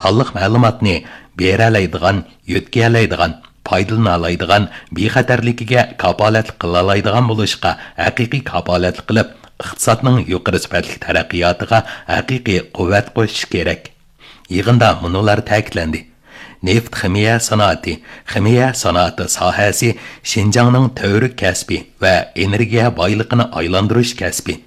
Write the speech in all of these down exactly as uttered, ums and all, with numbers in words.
سانلىق مەلۇماتنى بېرەلەيدىغان، يۆتكىيەلەيدىغان، پايدىلىنالايدىغان، بىخەتەرلىكىگە كاپالەتلىك قىلالايدىغان بولۇشقا ھەقىقىي كاپالەتلىك قىلىپ، ئىقتىسادنىڭ يۇقىرى سۈپەتلىك تەرەققىياتىغا ھەقىقىي قۇۋۋەت قوشۇش كېرەك. يىغىندا مۇنۇلار تەكىتلەندى: نېفىت خىمىيە سانائىتى، خىمىيە سانائىتى ساھەسى شىنجاڭنىڭ تۈۋرۈك كەسپى ۋە ئېنېرگىيە بايلىقىنى ئايلاندۇرۇش كەسپى.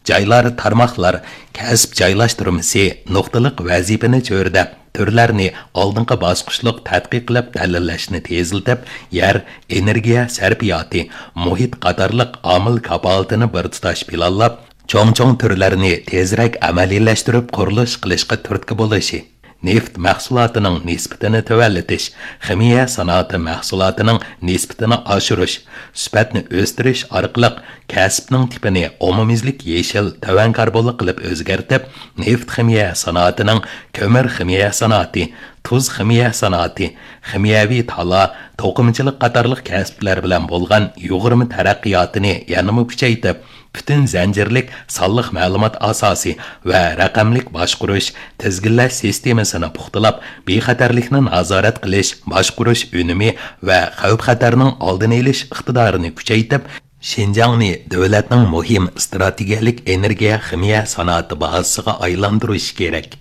جايلار، تارماقلار كەسىپ جايلاشتۇرمىسى نۇقتىلىق ۋەزىپىنى چۆرىدەپ، تۈرلەرنى ئالدىنقى باسقۇچلۇق تەتقىق قىلىپ دەلىللەشنى تېزلىتىپ، يەر، ئېنېرگىيە سەرپىياتى، مۇھىت قاتارلىق ئامىل كاپالىتىنى بىر تۇتاش پىلانلاپ، چوڭ-چوڭ تۈرلەرنى تېزرەك ئەمەلىيلەشتۈرۈپ قۇرۇلۇش قىلىشقا تۈرتكە بولۇشى، نېفىت مەھسۇلاتىنىڭ نىسبىتىنى تۆۋەنلىتىش، خىمىيە سانائىتى مەھسۇلاتىنىڭ نىسبىتىنى ئاشۇرۇش، سۈپەتنى ئۆستۈرۈش ئارقىلىق كەسىپنىڭ تىپىنى ئومۇميۈزلۈك يېشىل، تۆۋەن كاربونلۇق قىلىپ ئۆزگەرتىپ، نېفىت خىمىيە سانائىتىنىڭ، كۆمۈر خىمىيە سانائىتى، تۇز خىمىيە سانائىتى، خىمىيەۋى تالا، توقۇمىچىلىق قاتارلىق كەسىپلەر بىلەن بولغان يۇغۇرما تەرەققىياتىنى يەنىمۇ كۈچەيتىپ، پۈتۈن زەنجىرلىك سانلىق مەلۇمات ئاساسى ۋە رەقەملىك باشقۇرۇش، تىزگىنلەش سىستېمىسىنى پۇختىلاپ، بىخەتەرلىكنى نازارەت قىلىش، باشقۇرۇش ئۈنۈمى ۋە خەۋپ-خەتەرنىڭ ئالدىنى ئېلىش ئىقتىدارىنى كۈچەيتىپ، شىنجاڭنى دۆلەتنىڭ مۇھىم ئىستراتېگىيەلىك ئېنېرگىيە خىمىيە سانائىتى بازىسىغا ئايلاندۇرۇش كېرەك.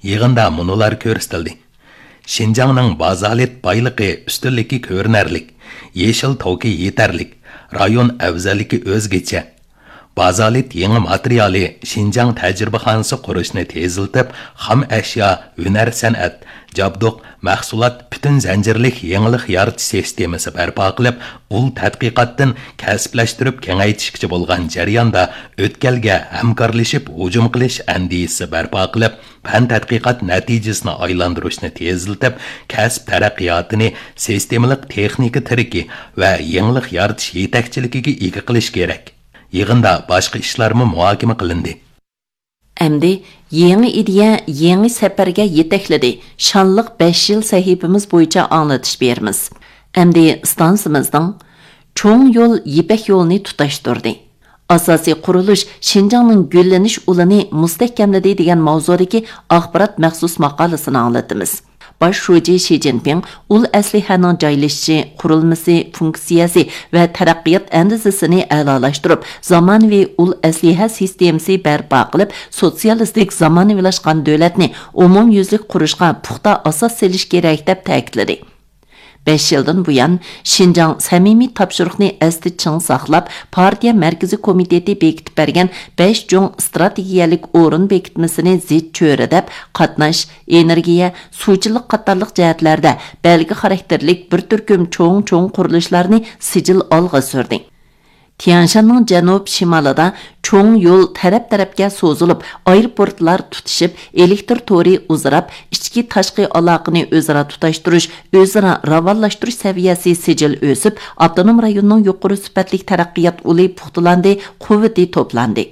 يىغىندا مۇنۇلار كۆرسىتىلدى: شىنجاڭنىڭ بازالت بايلىقى ئۈستۈنلۈكى كۆرۈنەرلىك، يېشىل توكى يېتەرلىك، رايون ئەۋزەللىكى ئۆزگىچە. بازالت يېڭى ماتېرىيالى شىنجاڭ تەجرىبىخانىسى قۇرۇشنى تېزلىتىپ، خام ئەشيا، ھۈنەر سەنئەت، جابدۇق، مەھسۇلات پۈتۈن زەنجىرلىك يېڭىلىق يارىتىش سىستېمىسى بەرپا قىلىپ، ئۇل تەتقىقاتتىن كەسىپلەشتۈرۈپ كېڭەيتىشكىچە بولغان جەرياندا ئۆتكەلگە ھەمكارلىشىپ ھۇجۇم قىلىش ئەندىزىسى بەرپا قىلىپ، پەن تەتقىقات نەتىجىسىنى ئايلاندۇرۇشنى تېزلىتىپ، كەسىپ تەرەققىياتىنى سىستېمىلىق تېخنىكا تىرىكى ۋە يېڭىلىق يارىتىش يېتەكچىلىكىگە ئىگە قىلىش كېرەك. يىغىندا باشقا ئىشلارمۇ مۇھاكىمە قىلىندى. ئەمدى يېڭى ئىدىيە، يېڭى سەپەرگە يېتەكلىدى. شانلىق بەش يىل سەھىپىمىز بويىچە ئاڭلىتىش بېرىمىز. ئەمدى ئىستانسىمىزنىڭ چوڭ يول يىپەك يولىنى تۇتاشتۇردى. ئاساسىي قۇرۇلۇش شىنجاڭنىڭ گۈللىنىش ئۇلىنى مۇستەھكەملىدى دېگەن ماۋزۇدىكى ئاخبارات مەخسۇس ماقالىسىنى ئاڭلىتىمىز. باش شۇجى شى جىنپىڭ ئۇل ئەسلىھەنىڭ جايلىشىشى، قۇرۇلمىسى، فۇنكسىيەسى ۋە تەرەققىيات ئەندىزىسىنى ئەلالاشتۇرۇپ، زامانىۋى ئۇل ئەسلىھە سىستېمىسى بەرپا قىلىپ، سوتسىيالىستىك زامانىۋىلاشقان دۆلەتنى ئومۇميۈزلۈك قۇرۇشقا پۇختا ئاساس سېلىش كېرەك، دەپ تەكىتلىدى. بەش يىلدىن بۇيان، شىنجاڭ سەمىمىي تاپشۇرۇقنى ئەستە چىڭ ساقلاپ، پارتىيە مەركىزىي كومىتېتى بېكىتىپ بەرگەن بەش چوڭ ئىستراتېگىيەلىك ئورۇن بېكىتمىسىنى زىچ چۆرىدەپ، قاتناش، ئېنېرگىيە، سۇچىلىق قاتارلىق جەھەتلەردە بەلگە خاراكتېرلىك بىر تۈركۈم چوڭ-چوڭ قۇرۇلۇشلارنى سىجىل ئالغا سۈردى. تيەنشاننىڭ جەنۇب شىمالىدا چوڭ يول تەرەپ-تەرەپكە سوزۇلۇپ، ئايروپورتلار تۇتىشىپ، ئېلېكتىر تورى ئۇزىراپ، ئىچكى-تاشقى ئالاقىنى ئۆزئارا تۇتاشتۇرۇش، ئۆزئارا راۋانلاشتۇرۇش سەۋىيەسى سىجىل ئۆسۈپ، ئاپتونوم رايوننىڭ يۇقىرى سۈپەتلىك تەرەققىيات ئۇلى پۇختىلاندى، قۇۋۋىتى توپلاندى.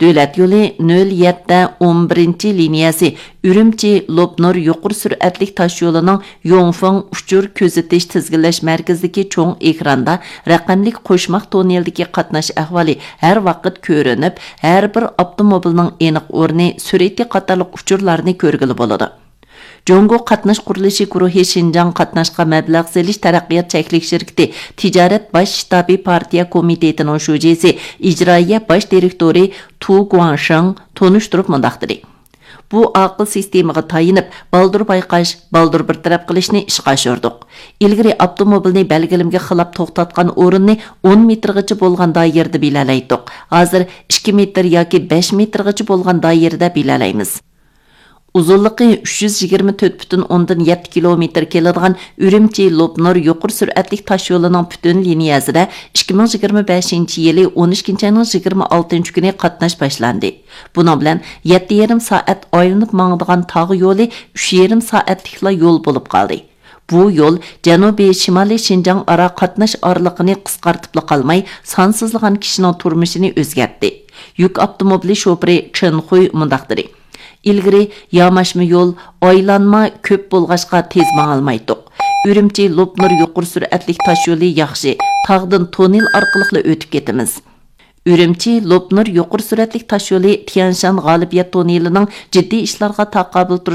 دۆلەت يولى نۆل يەتتە ئون بىرىنچى لىنىيەسى ئۈرۈمچى لوپنۇر يۇقىرى سۈرئەتلىك تاشيولىنىڭ يۇڭفېڭ ئۇچۇر كۆزىتىش تىزگىنلەش مەركىزىدىكى چوڭ ئېكراندا رەقەملىك قوشماق توننېلدىكى قاتناش ئەھۋالى ھەر ۋاقىت كۆرۈنۈپ، ھەر بىر ئاپتوموبىلنىڭ ئېنىق ئورنى، سۈرئىتى قاتارلىق ئۇچۇرلارنى كۆرگىلى بولىدۇ. جۇڭگو قاتناش قۇرۇلۇشى گۇرۇھى شىنجاڭ قاتناشقا مەبلەغ سېلىش تەرەققىيات چەكلىك شىركىتى تىجارەت باش شتابى پارتىيە كومىتېتىنىڭ شۇجىسى، ئىجرائىيە باش دىرېكتورى تۇ گۇاڭشېڭ تونۇشتۇرۇپ مۇنداق دېدى: بۇ ئاقىل سىستېمىغا تايىنىپ، بالدۇر بايقاش، بالدۇر بىر تەرەپ قىلىشنى ئىشقا ئاشۇردۇق. ئىلگىرى ئاپتوموبىلنى بەلگىلىمىگە خىلاپ توختاتقان ئورۇننى ئون مېتىرغىچە بولغان دائىرىدە بىلەلەيتتۇق. ھازىر ئىككى مېتىر ياكى بەش مېتىرغىچە بولغان دائىرىدە بىلەلەيمىز. ئۇزۇنلۇقى ئۈچ يۈز يىگىرمە تۆت پۈتۈن ئوندىن يەتتە كىلومېتىر كېلىدىغان ئۈرۈمچى لوپنۇر يۇقىرى سۈرئەتلىك تاشيولىنىڭ پۈتۈن لىنىيەسىدە ئىككى مىڭ يىگىرمە بەشىنچى يىلى ئون ئىككىنچى ئاينىڭ يىگىرمە ئالتىنچى كۈنى قاتناش باشلاندى. بۇنىڭ بىلەن يەتتە يېرىم سائەت ئايلىنىپ ماڭىدىغان تاغ يولى ئۈچ يېرىم سائەتلىكلا يول بولۇپ قالدى. بۇ يول جەنۇبىي شىمالىي شىنجاڭ ئارا قاتناش ئارىلىقىنى قىسقارتىپلا قالماي، سانسىزلىغان كىشىنىڭ تۇرمۇشىنى ئۆزگەرتتى. يۈك ئاپتوموبىلى شوپۇرى چېن خۇي مۇنداق دېدى: ئىلگىرى ياماشما يول، ئايلانما كۆپ بولغاچقا تېز ماڭالمايتتۇق. ئۈرۈمچى لوپنۇر يۇقىرى سۈرئەتلىك تاشيولى ياخشى، تاغدىن توننېل ئارقىلىقلا ئۆتۈپ كېتىمىز. ئۈرۈمچى لوپنۇر يۇقىرى سۈرئەتلىك تاشيولى تيەنشان غالىبىيەت توننېلىنىڭ جىددىي ئىشلارغا تاقابىل تۇرۇش